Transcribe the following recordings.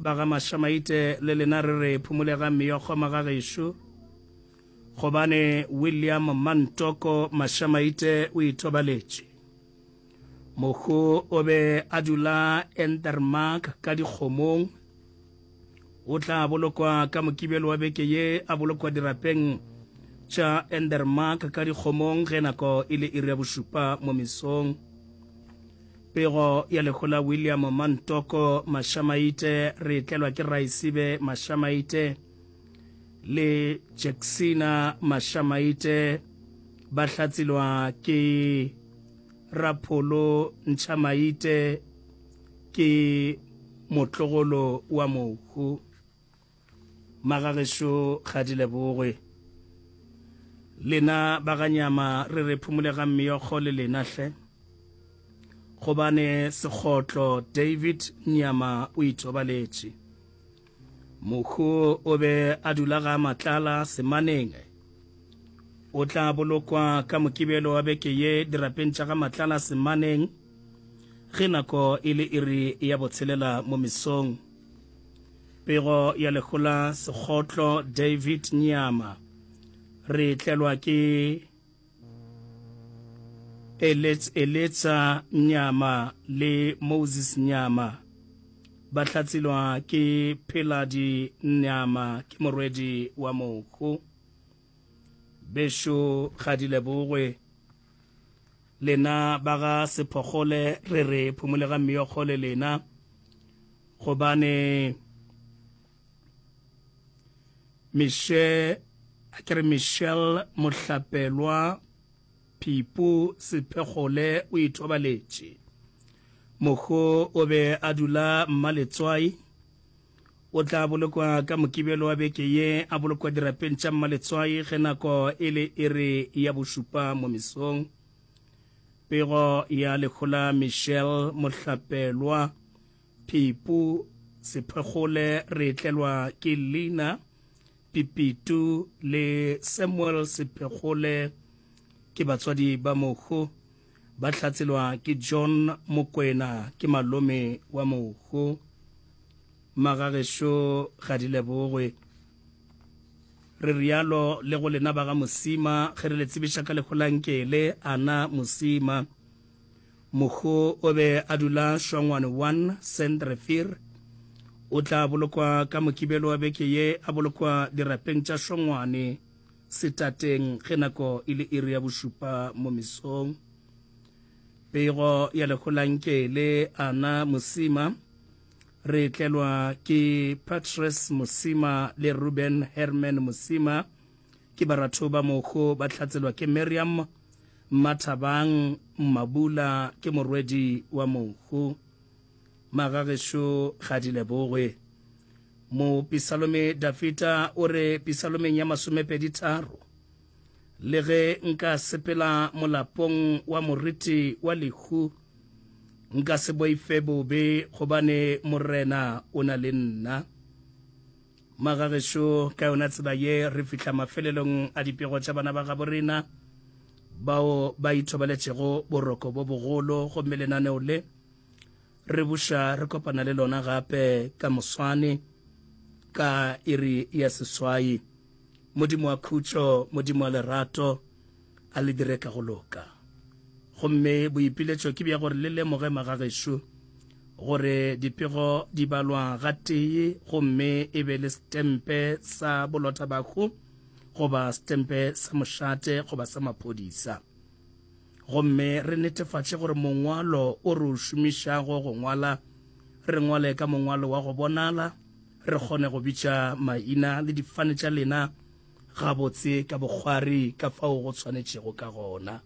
ba ga Mašamaite le lena re re phumolega meokgo magagešo, gobane William Mantoko Mašamaite o ithobaletše. Mohu o be a dula Endermark ka dikgomong. O tla bolokwa ka Mokibelo wa beke ye, a bolokwa dirapeng tša Endermark ka dikgomong ge nako e le iri ya bošupa mo mesong. Pego ya lehu la William Mantoko Mashamaite re e tlelwa ke Raisibe Mashamaite le Jacksina Mashamaite ba hlatsilwa ke Rapholo Ntšhamaite ke motlogolo wa mohu. Magagešo ga di lebogwe. Lena ba ga Nyama re re phumolegang meokgo le lena hle. Gobane Sekgotlo David Nyama o ithobaletše. Mohu o be a dula ga Matlala Semaneng. O tla bolokwa ka Mokibelo wa beke ye dirapeng tša ga Matlala Semaneng ge nako e le iri ya botshelela mo mesong. Pego ya lehola Sekgotlo David Nyama re tlelwa ke Eletsa Nyama le Moses Nyama ba hlatselwa ke Pheladi Nyama ke morwedi wa mohu. Bešo ga di lebogwe. Lena ba ga Sephogole re re phumolega meokgo le lena gobane Mishe a ke re Michelle Mohlapelwa Phipu Sephegole o ithobaletše. Mohu o be a dula Mmaletswai. O tla bolokwa ka Mokibelo wa beke ye, a bolokwa dirapeng tša Mmaletswai ge nako e le iri ya bošupa mo mesong. Pego ya lehu la Michelle Mohlapelwa Phipu Sephegole re tlelwa ke Lina Pipitu le Samuel Sephegole ke batswadi ba mohu, ba hlatselwa ke John Mokwena ke malome wa mohu. Magagešo ga di lebogwe. Re rialo le go lena ba ga Mosima ge re le tsebiša ka lehu la Nkele Ana Mosima. Mohu o be a dula Shongwane 1, Sandrivier. O tla bolokwa ka Mokibelo wa beke ye, a bolokwa dirapeng tša Shongwane, Setateng ge nako e le iri ya bošupa mo mesong. Pego ya lehu la Nkele Ana Mosima re tlelwa ke Patrice Mosima le Ruben Herman Mosima ke baratho ba mohu ba hlatselwa ke Miriam Mmathabang Mmabula ke morwedi wa mohu. Magagešo ga di lebogwe. Mopisalome Dafita o re pisalomeng ya masomepeditharo, Le ge nka sepela molapong wa moriti wa lehu, nka se boife bobe, gobane Morena o na le nna. Magagešo, ka yona tsela ye re fihla mafelelong a dipego tša bana ba gabo rena bao ba ithobaletšego boroko bo bogolo, gomme lenaneo le re buša re kopana le lona gape ka moswane ka iri ya seswai. Modimo wa khutšo, Modimo wa lerato, a le dire ka go loka. Gomme boipiletšo ke bja gore le lemoge magagešo gore dipego di balwa gatee gomme e be le setempe sa bolothabahu goba setempe sa mošate goba sa maphodisa. Gomme re netefatše gore mongwalo o re o šomišago go ngwala, re ngwale ka mongwalo wa go bonala, re kgone go bitša maina le difane tša lena gabotse ka bokgwari ka fao go swanetšego ka gona.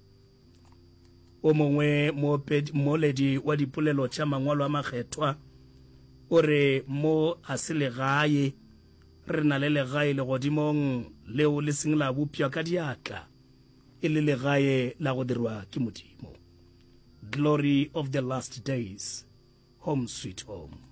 O mongwe moopedi, wa dipolelo tša Mangwalo a Makgethwa o re, Mo ga se legae, re na le legae legodimong leo le seng la bopša ka diatla, e le legae la go dirwa ke Modimo. Glory of the last days, home sweet home.